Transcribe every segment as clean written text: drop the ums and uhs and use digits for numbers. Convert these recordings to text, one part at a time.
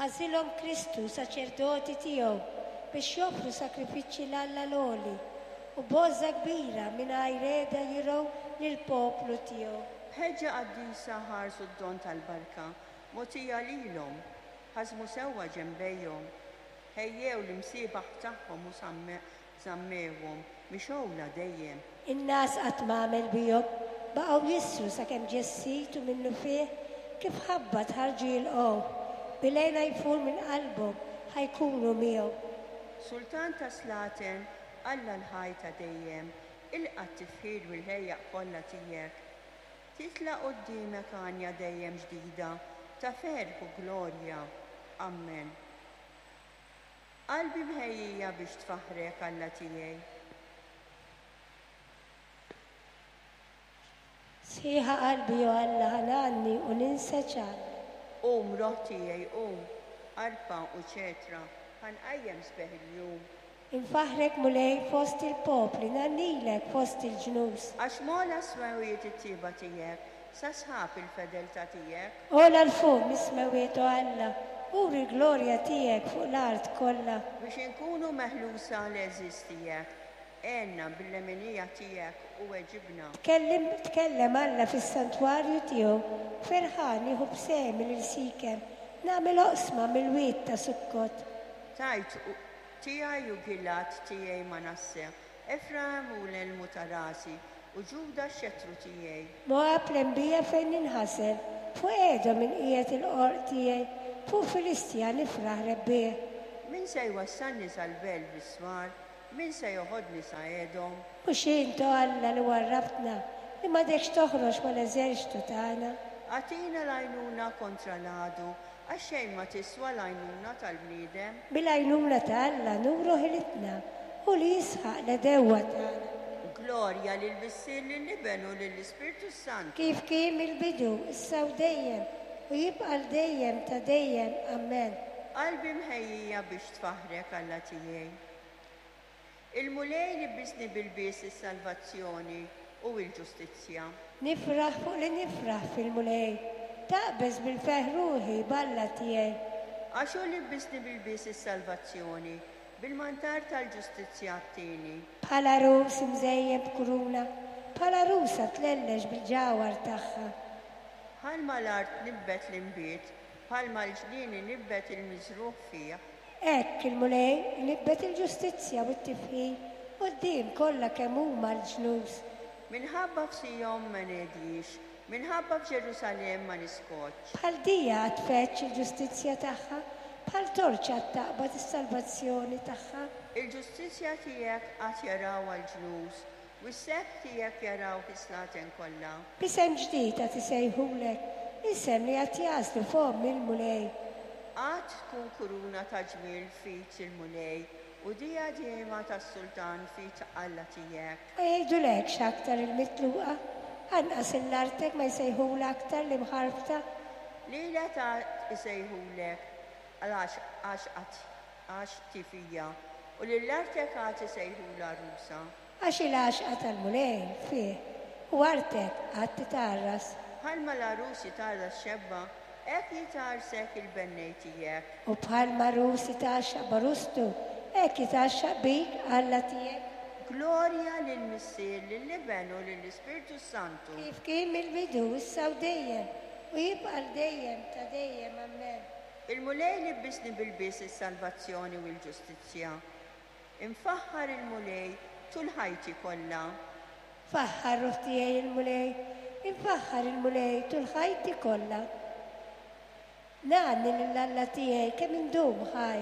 Għażilhom Kristu saċerdoti tiegħu biex joffru sagrifiċċji 'l Alla l-Għoli, u b'għożża kbira mingħajr heda jirgħu lill-poplu tiegħu. B'ħeġġa qaddisa ħarsu d-don tal-barka mogħtija lilhom, ħażmu sewwa ġenbejhom, ħejjew l-imsiebaħ tagħhom u żammewhom mixgħula dejjem. In-ngħas qatt m'għamel bihom, baqgħu jissru sakemm ġie s-Sid u minnufih kif ħabbat ħarġu jilqgħuh, bil-hena jfur minn qalbhom ħa jkunu miegħu. Sultan tas-slaten, Alla l-ħaj ta' dejjem, ilqa' t-tifħir mill-ħlejjaq kollha tiegħek. Titla' quddiemek għanja dejjem ġdida ta' ferħ u glorja. Ammen. Qalbi mħejjija biex tfaħħrek, Alla tiegħi. Sħiħa qalbi, o Alla, ħa ngħanni u ninseġ għallek. Qum, ruħ tiegħi, qum, arpa u ċetra, ħa nqajjem sbieħ il-jum. Infaħħrek, Mulej, fost il-popli, ngħannilek fost il-ġnus. Għax m'ogħla s-smewwiet it-tjieba tiegħek, sa sħab il-fedeltà tiegħek. Ogħla 'l fuq mis-smewwiet, o Alla, uri l-glorja tiegħek fuq l-art kollha. Biex inkunu meħlusa l-għeżież tiegħek, għenna bil-leminija tiegħek u weġibna. Tkellem, tkellem Alla fis-santwarju tiegħu, ferħan nieħu b'sehmi lil Sikem, nagħmel oqsma mill-wied ta' Sukkot. Tgħid, Tiegħi hu Gilgħad, tiegħi Manasse, Efraim hu l-elmu ta' rasi, u Ġuda x-xettru tiegħi. Moab l-enbija fejn ninħasel, fuq Edom inqiegħed il-qorq tiegħi, fuq Filistja nifraħ rebbieħ. Min se jwassalni sal-belt bis-swar? Min se joħodni sa Edom? Mhux int, o Alla, li warrabtna, li m'għadekx toħroġ mal-eżerċtu tagħna? Agħtina l-għajnuna kontra l-għadu, għax xejn ma tiswa l-għajnuna tal-bniedem. Bil-għajnuna ta' Alla nuru ħilitna, hu li jisħaq l-għedewwa tagħna. Glorja lill-Missier, lill-Iben u lill-Ispirtu s-Santu. Kif kien mill-bidu, issa u dejjem, u jibqa' għal dejjem ta' dejjem. Ammen. Qalbi mħejjija biex tfaħħrek, Alla tiegħi. Il-Mulej libbisni b'ilbies is-salvazzjoni u l-ġustizzja. Nifraħ fuq li nifraħ fil-Mulej, taqbeż bil-ferħ ruħi b'Alla tiegħi. Għax hu libbisni b'ilbies is-salvazzjoni, bil-mantar tal-ġustizzja għattini. Bħal għarus imżejjen b'kuruna, bħal għarusa tlellex bil-ġawhar tagħha. Bħalma l-art tnibbet l-inbid, bħalma l-ġnien inibbet il-miżrugħ fih. Hekk il-Mulej inibbet il-ġustizzja u t-tifħir quddiem kollha kemm huma l-ġnus. Minħabba f'Sijon ma ngħedjix, minħabba f'Ġerusalemm ma niskotx. Bħal dija għad tfeġġ il-ġustizzja tagħha, bħal torċa għad taqbad is-salvazzjoni tagħha. Il-ġustizzja tiegħek għad jarawha l-ġnus, u s-sebħ tiegħek jarawh is-slaten kollha. B'isem ġdid għad isejħulek, isem li għad jagħżlu fomm il-Mulej. Għad tkun kuruna ta' ġmiel f'id il-Mulej, u dijadema tas-sultan f'id Alla tiegħek. Ma jgħidulekx aktar il-mitluqa, anqas 'il artek ma jsejħulha aktar l-imħarbta. Lilek għad isejħulek għax għax għax tifija, u lil artek għad isejħulha għarusa. Għax il-għaxqa tal-Mulej fih, u artek għad titgħarras. Bħalma l-għarus jitgħarras xebba, hekk jitgħarrsek il-bennej tiegħek. U bħalma għarus jitgħaxxaq b'għarustu, hekk jitgħaxxaq bik Alla tiegħek. Glorja lill-Missier, lill-Iben u lill-Ispirtu s-Santu. Kif kien mill-bidu, issa u dejjem, u jibqa' għal dejjem ta' dejjem. Ammen. Il-Mulej libbisni b'ilbies is-salvazzjoni u l-ġustizzja. Infaħħar il-Mulej tul ħajti kollha. Faħħar ruħ tiegħi il-Mulej, infaħħar il-Mulej tul ħajti kollha. Ngħanni lil Alla tiegħi kemm indum ħaj.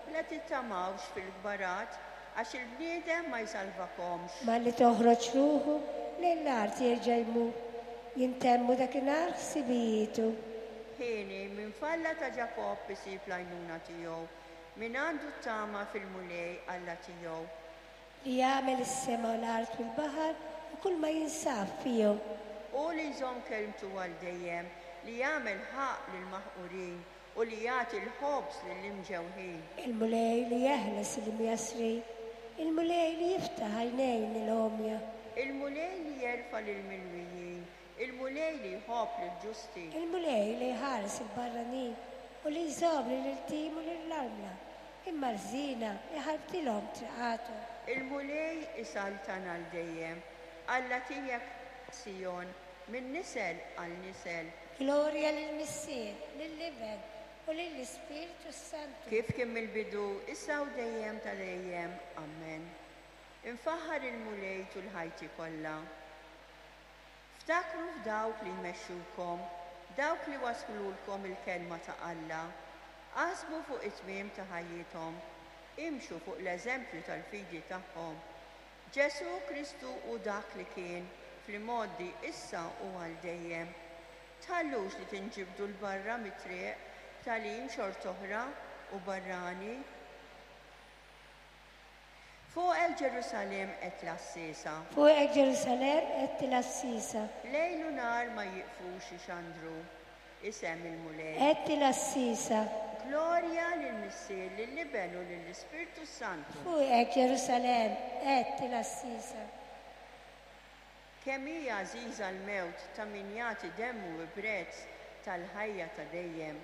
La tittamawx fil-kbarat, għax il-bniedem ma jsalvakomx. Malli toħroġ ruħu, lejn l-art jerġa' jmur, jintemmu dakinhar ħsibijietu. Hieni, min f'Alla ta' Ġakobb isib l-għajnuna tiegħu, Min għandu t-tama fil-Mulej Alla tiegħu. Li għamel is-sema u l-art u l-baħar u kull ma jinsab fihom. Hu li jżomm kelmtu għal dejjem, li jagħmel ħaqq lill-maħqurin u li jagħti l-ħobż lill-imġewħin. Il-Mulej li jeħles lill-imjassrin, il-Mulej li jiftaħ għajnejn il-għomja. Il-Mulej li jerfa' lill-milwijin, il-Mulej li jħobb lill-ġusti. Il-Mulej li jħares il-barranin. u li jżomm lill-iltim u lill-armla, imma l-ħżiena jħarbtilhom triqathom. Il-Mulej isaltan għal dejjem, Alla tiegħek, Sijon, minn nisel għal nisel. Glorja lill-Missier, lill-Iben, u lill-Ispirtu s-Santu. Kif kien mill-bidu, issa u dejjem ta' dejjem. Ammen. Infaħħar il-Mulej tul ħajti kollha. Ftakru f'dawk li jmexxukom, dawk li wasslulkom il-kelma ta' Alla. Aħsbu fuq it-tmiem ta' ħajjithom. Imxu fuq l-eżempju tal-fidi tagħhom. Ġesù Kristu hu dak li kien, fl-imgħoddi, issa u għal dejjem. Tħallux li tinġibdu 'l barra mit-triq b'tagħlim xort'oħra u barrani. Fuqek Ġerusalemm qed l-għassiesa. Fuqek Ġerusalemm qed il-għassiesa. Lejl u nhar ma jieqfux ixandru isem il-Mulej. Qed il-għassiesa. Glorja lill-Missier, lill-Iben u lill-Ispirtu s-Santu. Fuqek Ġerusalemm qed il-għassiesa. Kemm hi għażiża l-mewt ta' min jagħti demmu bi prezz tal-ħajja ta' dejjem.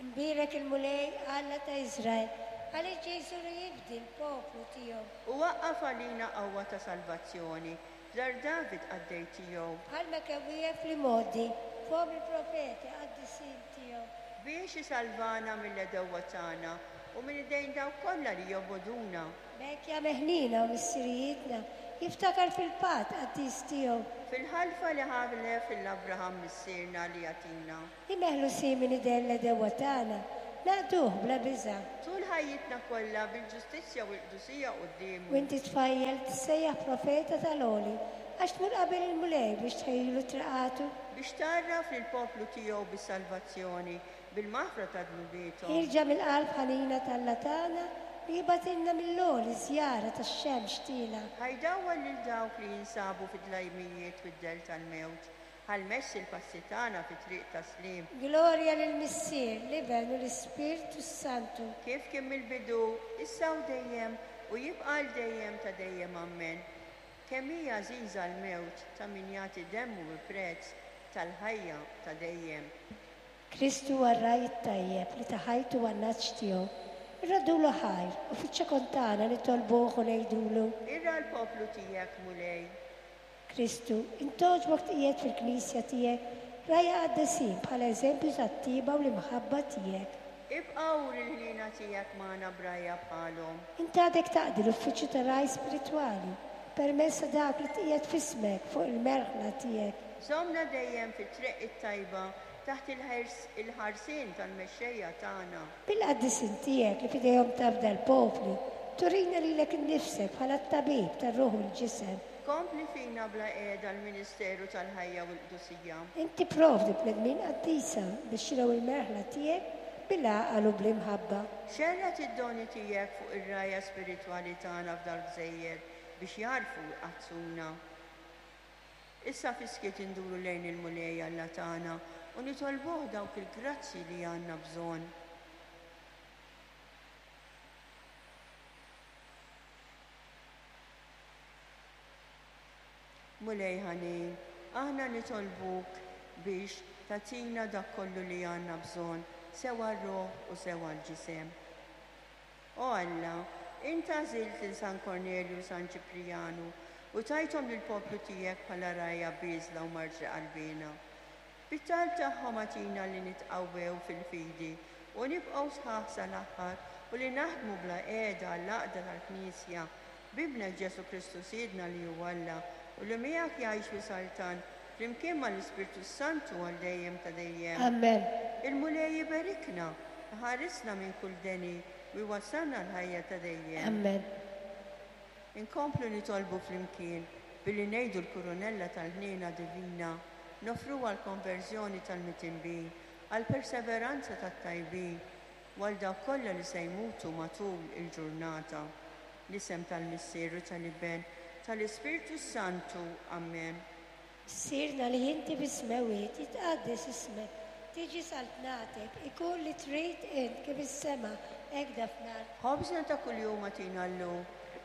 Imbierek il-Mulej, Alla ta' Iżrael, għaliex ġie jżur u jifdi l-poplu tiegħu. U waqqaf għalina qawwa ta' salvazzjoni f'dar David qaddej tiegħu. Bħalma kemm wiegħed fl-imgħoddi fomm il-profeti qaddisin tiegħu. Biex isalvana mill-għedewwa tagħna u minn idejn dawk kollha li jobogħduna. B'hekk jagħmel ħniena u missirijietna, jiftakar fil-patt qaddis tiegħu. Fil-ħalfa li ħalef lil Abraham missierna li jagħtina. Li meħlusin minn idejn l-għedewwa tagħna, naqduh bla biża'. Tul ħajjitna kollha bil-ġustizzja u l-qdusija quddiemu. U inti tfajjel, tissejjaħ profeta tal-Għoli, għax tmur qabel il-Mulej biex tħejjilu triqatu. Biex tgħarraf lill-poplu tiegħu bis-salvazzjoni, bil-maħfra ta' dnubiethom. Ħierġa mill-qalb ħanina t'Alla tagħna, li jibgħatilna mill-għoli żjara tax-xemx tielgħa. Ħa jdawwal lil dawk li jinsabu fid-dlajmijiet u d-dell tal-mewt, Ħa jmexxi l-passi tagħna fi triq ta' sliem. Glorja lill-Missier, l-Iben u l-Ispirtu s-Santu. Kif kien mill-bidu, issa u dejjem, u jibqa' għal dejjem ta' dejjem. Ammen. Kemm hi għażiża l-mewt ta' min jagħti demmu bi prezz tal-ħajja ta' dejjem. Kristu huwa r-Ragħaj it-Tajjeb li ta ħajtu għan-nagħaġ tiegħu. Irroddulu ħajr u fiċ-ċokon tagħna nitolbuh u ngħidulu. Irgħa l-poplu tiegħek, Mulej. Kristu, int togħġbok tqiegħed fil-Knisja tiegħek rgħajja qaddesin bħala eżempju tat-tjieba u l-imħabba tiegħek. Ibqa' uri l-ħniena tiegħek magħna b'rgħajja bħalhom. Int għadek taqdi l-uffiċċju ta' ragħaj spiritwali permezz ta' dak li tqiegħed f'ismek fuq il-merħla tiegħek. Żommna dejjem fit-triq it-tajba taħt il-ħarsien tal-mexxejja tagħna. Bil-qaddisin tiegħek li f'idejhom tafda l-popli, turina lilek innifsek bħala t-tabib tar-ruħ u l-ġisem. Kompli fina bla qiegħda l-ministeru tal-ħajja u l-qdusija. Int tipprovdi bnedmin qaddisa biex jirgħu l-merħla tiegħek bil-għaqal u bl-imħabba. Xerred id-doni tiegħek fuq ir-rgħajja spiritwali tagħna f'dal-gżejjer biex jagħrfu jqaddsuna. Issa fis-skiet induru lejn il-Mulej Alla tagħna u nitolbuh dawk il-grazzji li għandna bżonn. Mulej ħanin, aħna nitolbuk biex tagħtina dak kollu li għandna bżonn, sew għar-ruħ u sew għall-ġisem. O Alla, int għażilt lil San Kornelju u San Ċiprijanu u tajthom lill-poplu tiegħek bħala rgħajja bieżla u marġri qalbiena. Bit-talb tagħhom agħtina li nitqawwew fil-fidi u nibqgħu sħaħ sal-aħħar u li naħdmu bla qiegħda għall-għaqda tal-Knisja, b'Ibnek Ġesù Kristu Sidna li hu Alla u li miegħek jgħix u jsaltan flimkien mal-Ispirtu s-Santu għal dejjem ta' dejjem. Amen. Il-Mulej iberikna, iħarisna minn kull deni u jwassalna l-ħajja ta' dejjem. Amen. Inkomplu nitolbu flimkien billi ngħidu l-Kurunella tal-Ħniena Divina, noffruha għall-konverżjoni tal-mitinbin, għall-perseveranza tat-tajbin, u għal dawk kollha li se jmutu matul il-ġurnata. L-isem tal-Missier u tal-Iben, tal-Ispirtu s-Santu. Ammen. Missierna li inti fis-smewwiet, jitqaddes ismek, tiġi saltnatek, ikun li trid int kif is-sema hekk da fl-art. Ħobżna ta' kuljum agħtina llum.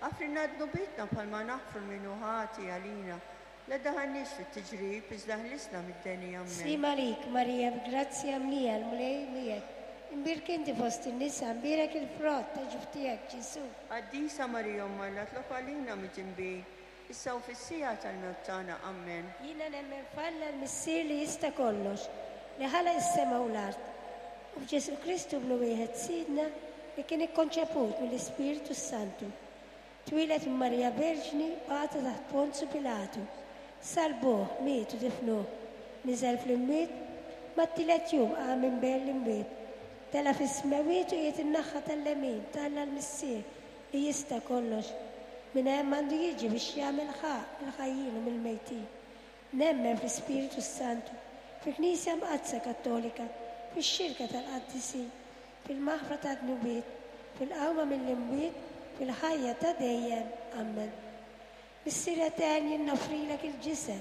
Aħfrilna dnubietna bħalma naħfru 'l min hu ħati għalina. La ddaħħalniex fit-tiġrib, iżda ħlisna mid-deni. Ammen. Sliem għalik, Marija, b'grazzja mlija, l-Mulej miegħek. Imbierka inti fost in-nisa, imbierek il-frott ta' ġuf tiegħek, Ġesù. Qaddisa Marija Omm Alla tlob għalina midinbin, issa u fis-siegħa tal-mewt tagħna. Ammen. Jiena nemmen f'Alla l-Missier li jista' kollox, li ħalaq is-sema u l-art, u f'Ġesù Kristu Ibnu wieħed Sidna li kien ikkonċeput mill-Ispirtu s-Santu. Twieled minn Marija Verġni, bata taħt Ponzu Pilatu. Salbuh, miet u difnuh. Niżel fl-imwiet, mat-tielet jum qam minn bejn l-imwiet. Tela' fis-smewwiet u qiegħed in-naħa tal-lemin ta' Alla l-Missier li jista' kollox. Minn hemm għandu jiġi biex jagħmel ħaqq mill-ħajjin u mill-mejtin. Nemmen fl-Ispirtu s-Santu, fil-Knisja Mqaddsa Kattolika, fix-xirka tal-qaddisin, fil-maħfra tad-dnubiet, fil-qawma mill-imwiet, fil-ħajja ta' dejjem. Ammen. Missier Etern jien noffrilek il-ġisem,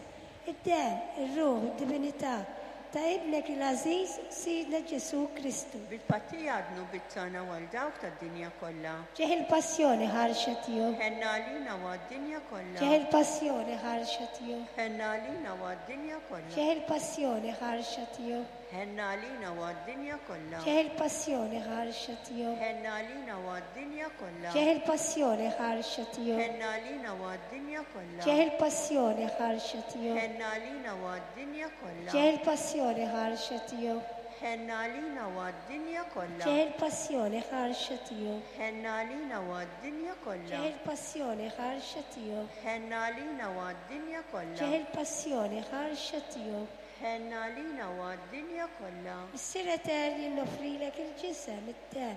id-demm, ir-ruħ u d-divinità ta' Ibnek il-għażiż Sidna Ġesù Kristu. Bil-tpattija għad-dnubiet tagħna u għal dawk tad-dinja kollha. Ġieħ il-passjoni ħarxa tiegħu. Ħenna għalina u għad-dinja kollha. Ġieħ il-passjoni ħarxa tiegħu. Ħenna għalina u għad-dinja kollha. Ġieħ il-passjoni ħarxa tiegħu. Ħenna għalina u għad-dinja kollha. Ġieħ il-passjoni ħarxa tiegħu. Ħenna għalina u għad-dinja kollha. Ġieħ il-passjoni ħarxa tiegħu. Ħenna għalina u għad-dinja kollha. Ġieħ il-passjoni ħarxa tiegħu. Ħenna għalina u għad-dinja kollha. Ġieħ il-passjoni ħarxa tiegħu. Ħenna għalina u għad-dinja kollha. Ġieħ il-passjoni ħarxa tiegħu. Ħenna għalina u għad-dinja kollha. Ġieħ il-passjoni ħarxa tiegħu. Ħenna għalina u għad-dinja kollha. Ġieħ il-passjoni ħarxa tiegħu. Ħenna għalina u għad-dinja kollha. Missier Etern jien noffrilek il-ġisem, id-demm,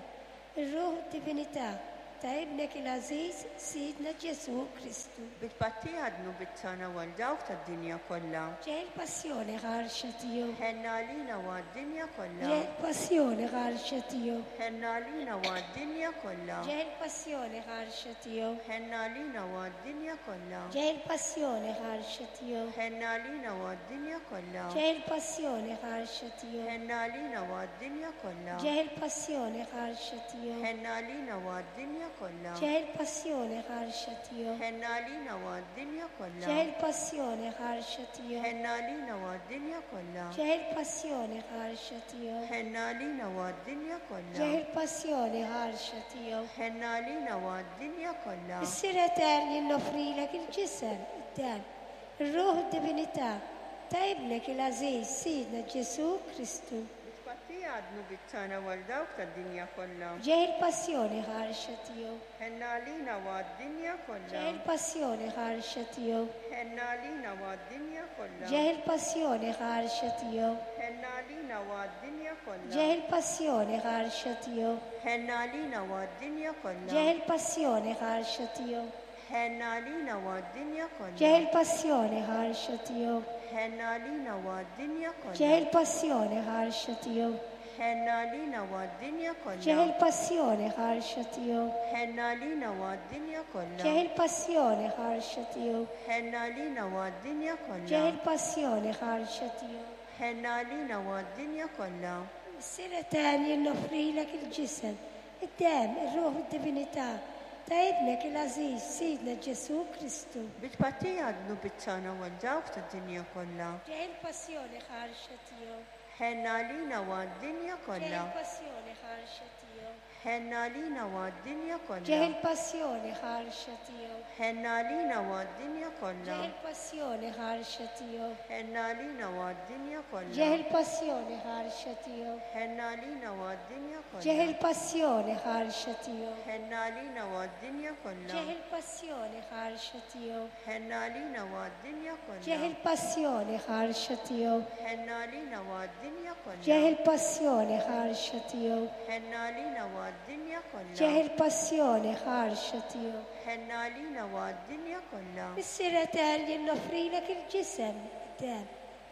ir-ruħ u d-divinità ta' Ibnek il-għażiż Sidna Ġesù Kristu. Bi tpattija għad-dnubiet tagħna u għal dawk tad-dinja kollha. Ġieħ il-passjoni ħarxa tiegħu. Ħenna għalina u għad-dinja kollha. Ġieħ il-passjoni ħarxa tiegħu. Ħenna għalina u għad-dinja kollha. Ġieħ il-passjoni ħarxa tiegħu. Ħenna għalina u għad-dinja kollha. Ġieħ il-passjoni ħarxa tiegħu. Ħenna għalina u għad-dinja kollha. Ġieħ il-passjoni ħarxa tiegħu. Ħenna għalina u għad-dinja kollha. Ġieħ il-passjoni ħarxa tiegħu. Ħenna għalina u għad-dinja kollha. Ġieħ il-passjoni ħarxa tiegħu. Ħenna għalina u għad-dinja kollha. Ġieħ il-passjoni ħarxa tiegħu. Ħenna għalina u għad-dinja kollha. Ġieħ il-passjoni ħarxa tiegħu. Ħenna għalina u għad-dinja kollha. Ġieħ il-passjoni ħarxa tiegħu. Ħenna għalina u għad-dinja kollha. Missier Etern jien noffrilek il-ġisem, id-demm, ir-ruħ u d-divinità ta' Ibnek il-għażiż Sidna Ġesù Kristu. Bi tpattija għad-dnubiet tagħna u għal dawk tad-dinja kollha. Ġieħ il-passjoni ħarxa tiegħu. Ħenna għalina u għad-dinja kollha. Ġieħ il-passjoni ħarxa tiegħu. Ħenna għalina u għad-dinja kollha. Ġieħ il-passjoni ħarxa tiegħu. Ħenna għalina u għad-dinja kollha. Ġieħ il-passjoni ħarxa tiegħu. Ħenna għalina u għad-dinja kollha. Ġieħ il-passjoni ħarxa tiegħu. Ħenna għalina u għad-dinja kollha. Ġieħ il-passjoni ħarxa tiegħu. Ħenna għalina u għad-dinja kollha. Ġieħ il-passjoni ħarxa tiegħu. Ħenna għalina u għad-dinja kollha. Ġieħ il-passjoni ħarxa tiegħu. Ħenna għalina u għad-dinja kollha. Ġieħ il-passjoni ħarxa tiegħu. Ħenna għalina u għad-dinja kollha. Ġieħ il-passjoni ħarxa tiegħu. Ħenna għalina u għad-dinja kollha. Missier Etern jien noffrilek il-ġisem, id-demm, ir-ruħ u d-divinità ta' Ibnek il-għażiż Sidna Ġesù Kristu. Bi tpattija għad-dnubiet tagħna u għal dawk tad-dinja kollha. Ġieħ il-passjoni ħarxa tiegħu. Ħenna għalina u għad-dinja Ġieħ kollha. il-passjoni ħarxa tiegħu. Ħenna għalina u għad-dinja kollha. Ġieħ il-passjoni ħarxa tiegħu. Ħenna għalina u għad-dinja kollha. Ġieħ il-passjoni ħarxa tiegħu. Ħenna għalina u għad-dinja kollha. Ġieħ il-passjoni ħarxa tiegħu. Ħenna għalina u għad-dinja Ġieħ kollha. il-passjoni ħarxa tiegħu. Ħenna għalina u għad-dinja kollha. Ġieħ il-passjoni ħarxa tiegħu. Ħenna għalina u għad-dinja Ġieħ kollha. il-passjoni ħarxa tiegħu. Ħenna għalina u għad-dinja kollha. Ġieħ il-passjoni ħarxa tiegħu. Ħenna għalina u għad-dinja kollha. Ġieħ il-passjoni ħarxa tiegħu. Ħenna għalina u għad-dinja kollha. Missier Etern jien noffrilek il-ġisem, id-demm,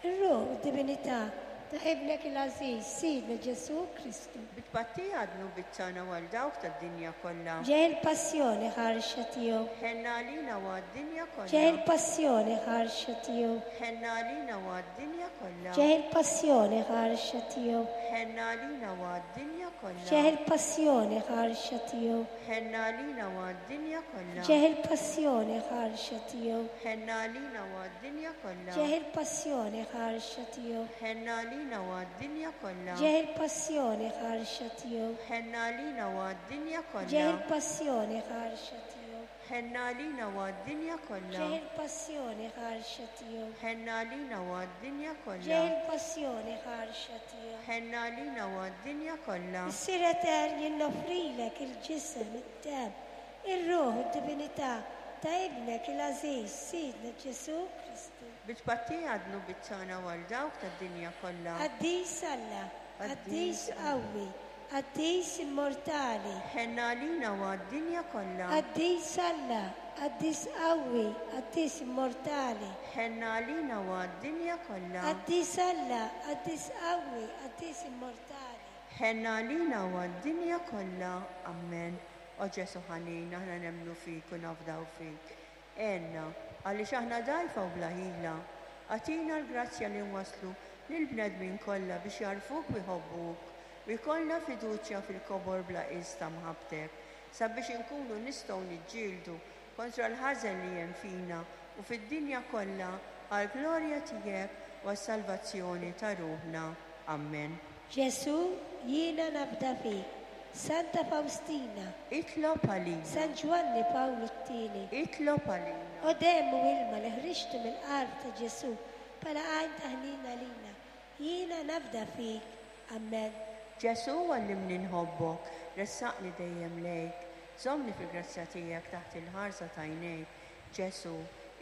ir-ruħ u d-divinità ta' Ibnek il-għażiż Sidna Ġesù Kristu. Bi tpattija għad-dnubiet tagħna u għal dawk tad-dinja kollha. Ġieħ il-passjoni ħarxa tiegħu. Ħenna għalina u għad-dinja Ġieħ kollha. il-passjoni ħarxa tiegħu. Ħenna għalina u għad-dinja kollha. Ġieħ il-passjoni ħarxa tiegħu. Ħenna għalina u għad-dinja kollha. Ġieħ il-passjoni ħarxa tiegħu. Ħenna għalina u għad-dinja kollha. Ġieħ il-passjoni ħarxa tiegħu. Ħenna għalina u għad-dinja kollha. Ġieħ il-passjoni ħarxa tiegħu. Ħenna għalina għalina u għad-dinja kollha. Ġieħ il-passjoni ħarxa tiegħu. Ħenn għalina u għad-dinja Ġieħ kollha. il-passjoni ħarxa tiegħu. Ħenn għalina u għad-dinja kollha. Ġieħ il-passjoni ħarxa tiegħu. Ħenn għalina u għad-dinja kollha. Ġieħ il-passjoni ħarxa tiegħu. Ħenn għalina u għad-dinja kollha. Missier etern jien noffrilek il-ġisem, id-demm, ir-ruħ u d-divinità ta' Ibnek il-għażiż Sidna Ġesù Kristu. Bi tpattija għad-dnubiet tagħna u għal dawk tad-dinja kollha. Qaddis Alla, qaddis qawwi, qaddis immortali. Ħenn għalina u għad-dinja kollha. Qaddis Alla, qaddis qawwi, qaddis immortali. Ħenn għalina u għad-dinja kollha. Qaddis Alla, qaddis qawwi, qaddis immortali. Ħenn għalina u għad-dinja kollha. Amen. O Ġesù ħanin, aħna nemmnu fik u nafdaw fik. Għenna, għaliex aħna dgħajfa u bla ħila. Agħtina l-grazzja li nwasslu lill-bnedmin kollha biex jagħrfuk u jħobbuk, u jkollna fiduċja fil-kobor bla qies ta' mħabbtek, sabiex inkunu nistgħu niġġieldu kontra l-ħażen li hemm fina u fid-dinja kollha għall-glorja tiegħek u għas-salvazzjoni ta' ruħna. Amen. Ġesù, jiena nafda fik. Santa Fawstina. Itlob għalina. San Ġwanni Pawlu t-Tieni. Itlob għalina. O demm u ilma li ħriġtu mill-qalb ta' Ġesù bħala għajn ta' ħnina għalina, jiena nafda fik. Amen. Ġesù għallimni nħobbok, ressaqni dejjem lejk, żommni fil-grazzja tiegħek taħt il-ħarsa t'għajnejk. Ġesù,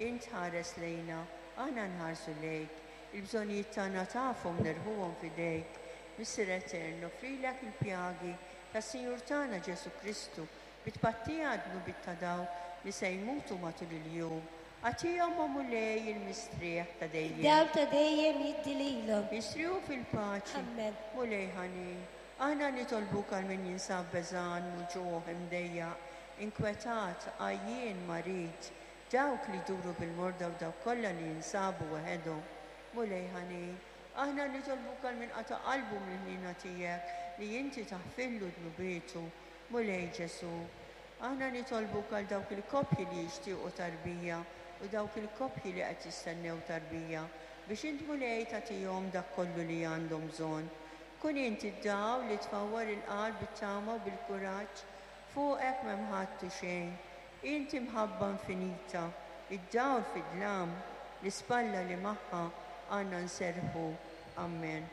int ħares lejna, aħna nħarsu lejk. Il-bżonnijiet tagħna tafhom nerħuhom f'idejk. Missier Etern, noffrilek il-pjagi tas-Sinjur tagħna Ġesù Kristu bi tpattija għad-dnubiet ta' dawk li se jmutu matul il-jum. Agħtihom, o Mulej, il-mistrieħ ta' dejjem. Id-dawl ta' dejjem jiddi lilhom. Jistrieħu fil-paċi. Amen. Mulej ħanin, aħna nitolbuk għal min jinsab beżgħan, muġugħ, imdejjaq, inkwetat, għajjien, marid, dawk li jduru bil-morda u dawk kollha li jinsabu waħedhom. Mulej ħanin, aħna nitolbuk għal min qata' qalbu mill-ħniena tiegħek li inti taħfirlu dnubietu. Mulej Ġesù, aħna nitolbuk għal dawk il-koppji li jixtiequ tarbija u dawk il-koppji li qed jistennew tarbija biex int Mulej tagħtihom dak kollu li għandhom bżonn. Kun inti d-dawl li tfawwar il-qalb bit-tama u bil-kuraġġ, fuqek m'hemm ħadd u xejn. Inti mħabba infinita, id-dawl fid-dlam, l-ispalla li magħha għandna nserrħu. Amen.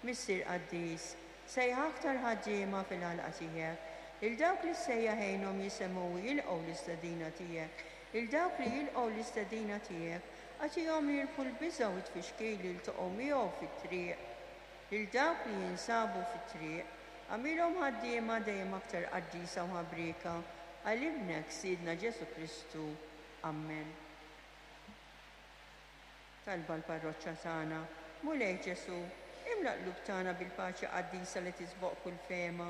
Missier qaddis, sejjaħ aktar ħaddiema fil-għalqa tiegħek, lil dawk li ssejjaħ għinhom jisemgħu u jilqgħu l-istedina tiegħek, lil dawk li jilqgħu l-istedina tiegħek, agħtihom jirbħu l-biża' u t-tfixkil li jiltaqgħu miegħu fit-triq. Lil dawk li jinsabu fit-triq, agħmilhom ħaddiema dejjem aktar qaddisa u ħabrieka għal Ibnek Sidna Ġesù Kristu. Amen. Talba l-parroċċa tagħna. Mulej Ġesù, imla l-qlub tagħna bil-paċi qaddisa li tisboq kull fehma.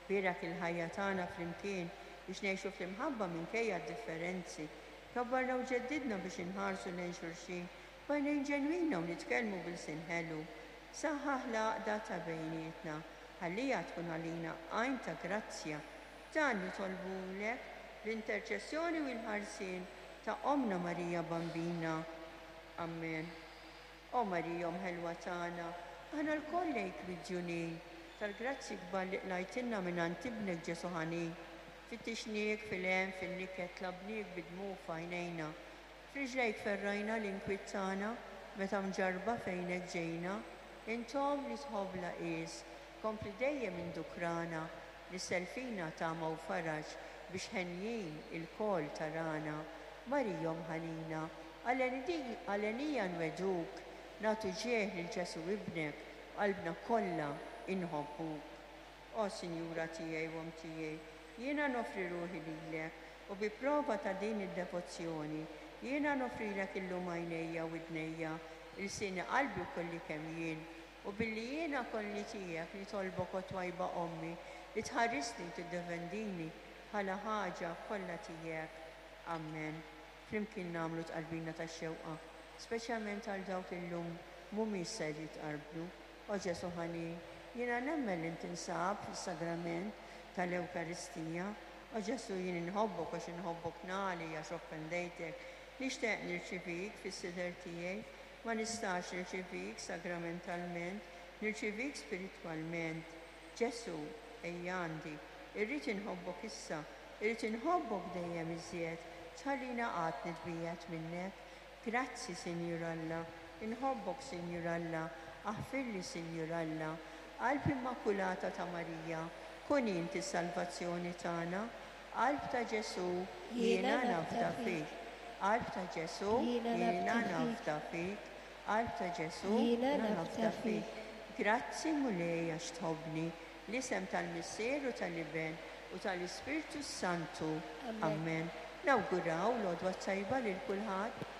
Bierak il-ħajja tagħna flimkien biex ngħixu fl-imħabba minkejja d-differenzi. Kabbarna u ġeddidna biex inħarsu lejn xulxin b'għajnejn ġenwina u nitkellmu b'ilsien ħelu. Saħħaħ l-għaqda ta' bejnietna, ħalliha tkun għalina għajn ta' grazzja. Dan nitolbulek bl-interċessjoni u l-ħarsien ta' Ommna Marija Bambina. Amen. O Marija Omm ħelwa tagħna, aħna lkoll lejk midjunin tal-grazzji kbar li qlajtilna mingħand Ibnek Ġesù ħanin. Fittixniek fil-hemm, fin-niket, tlabniek bid-dmugħ f'għajnejna. F'riġlejk ferrajna l-inkwiet tagħna meta mġarrba fejnek ġejna. Int Omm li tħobb bla qies, kompli dejjem indukrana, nissel fina tama u faraġ biex henjin ilkoll tarana. Marija Omm ħanina, għalenija nwegħduk, nagħtu ġieħ lil Ġesù Ibnek, b'qalbna kollha inħobbuk. O Sinjura tiegħi u Omm tiegħi, jiena noffri ruħi lilek, u bi prova ta' din id-devozzjoni, jiena noffrilek illum għajnejja u widnejja, ilsieni qalbi u kolli kemm jien, u billi jiena kolli tiegħek nitolbok o twajba Ommi li tħarisni u tiddefendini bħala ħaġa kollha tiegħek. Amen. Flimkien nagħmlu tqarbina tax-xewqa, speċjalment għal dawk li llum mhumiex ser jitqarbnu. O Ġesù ħanin, jiena nemmen li tinsab fis-sagrament tal-Ewkaristija. O Ġesù, jien inħobbok għax inħobbok nagħli għax offendejtek. Nixtieq nirċivik fis-sider tiegħi. Ma nistax nirċivik sagramentalment. Nirċivik spiritwalment. Ġesù, ejja għandi. Irrid inħobbok issa. Irrid inħobbok dejjem iżjed. Tħallina qatt nitbiegħed minnek. Grazzi, Sinjur Alla. Inħobbok, Sinjur Alla. Aħfirli, Sinjur Alla. Qalb Immakulata ta' Marija, kun int is-salvazzjoni tagħna. Qalb ta' Ġesù, jiena nafda fik. Qalb ta' Ġesù, jiena nafda fik. Qalb ta' Ġesù, jiena nafda fik. Grazzi, Mulej, għax tħobbni. L-isem tal-Missier u tal-Iben u tal-Ispirtu s-Santu. Amen. Nawguraw l-għodwa t-tajba lil kulħadd.